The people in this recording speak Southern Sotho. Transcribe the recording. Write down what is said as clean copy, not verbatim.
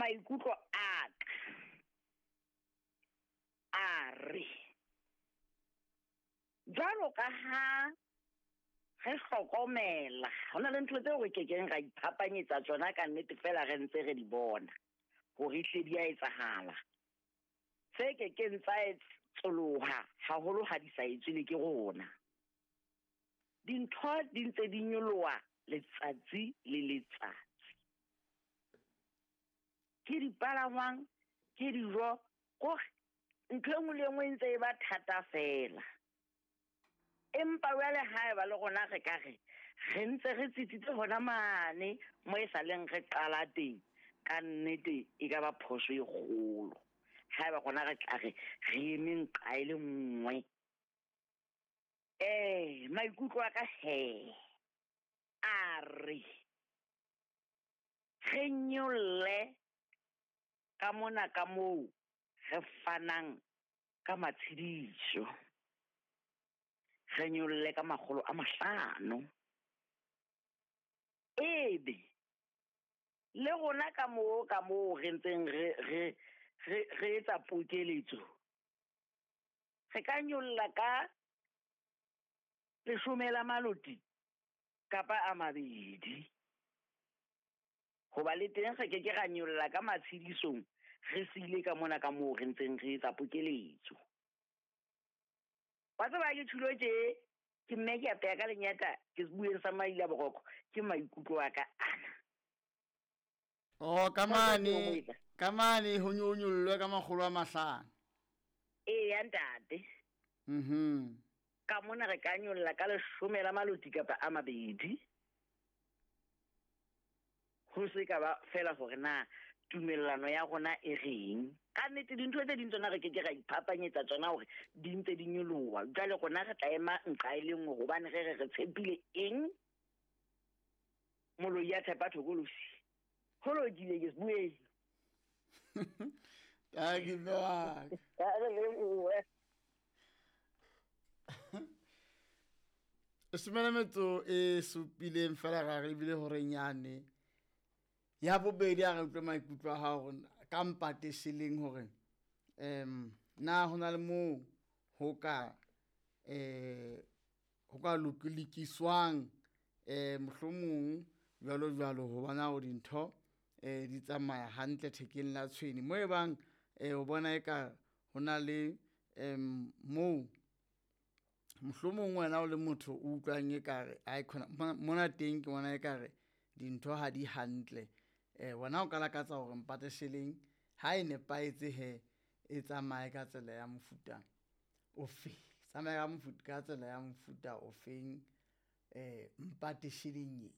Maikutlo a ka a re jwalo ka ha re hlokomela ho na le ntho tseo re kekeng ra iphapanyetsa tsona ka nnete fela re ntse re di bona hore ehlile di a etsahala. Tse kekeng tsa tsoloha haholo ha di sa etswe le ke rona. Dintho di ntse di nyoloha letsatsi le letsatsi. Ke dipalangwang, ke dijo, kore ntho e nngwe le e nngwe e ntse e ba thata fela. Empa jwale haeba le rona re ka re re ntse re tsitsitse hona mane mo e sa leng re qala teng, ka nnete e ka ba phoso e kgolo. Haeba rona re tla re re eme nqa e le nngwe. Maikutlo a ka he a re re nyolle ka mona ka moo re fanang ka matshediso. Re nyolle ka 500. Ebe le rona ka moo ka moo re ntseng re re etsa pokeletso, re ka nyolla ka 10 la maloti kapa a 2. Hoba le teng re ke ke ra nyolla ka matshedisong re siile ka mona ka moo re ntseng re etsa pokeletso. Wa tseba ke tjhulo tje, ke mme ke apeya ka lenyata, ke bueng sa maila boroko, ke maikutlo a ka ana. Oh, ka mane ho nyollwe ka 500. Eya ntate. Ka mona re ka nyolla ka 10 la maloti kapa a 2. Ho se ka ba fela hore na tumellano ya rona e reng. Ka nnete dintho tse ding tsona re ke ke ra iphapanyetsa tsona hore di ntse di nyoloha. Jwale rona re tla ema nqa e le nngwe hobane re re re tshepile eng? Moloi ya tshepa thokolosi. Ho lokile ke se bueng. Thank you, Mark. Somela metso e supileng fela ra re ebile hore nyane ya bobedi a re utlwe maikutlo a hao ka mpate seleng hore na ho na le moo ho ka ho ka lokiswang mohlomong jwalo jwalo ho bona hore dintho di tsamaya hantle thekeng la tshwene mo e bang o bona eka ho na le moo mohlomong wena o le motho o utlwang ekare ai khona mona teng ke bona ekare dintho ha di hantle wena o ka lakatsa hore mpate sheleng ha e nepahetse he e tsamaye ka tsela ya mofuta ofe, tsamaye ka mofuta ka tsela ya mofuta ofeng mpate sheleng e.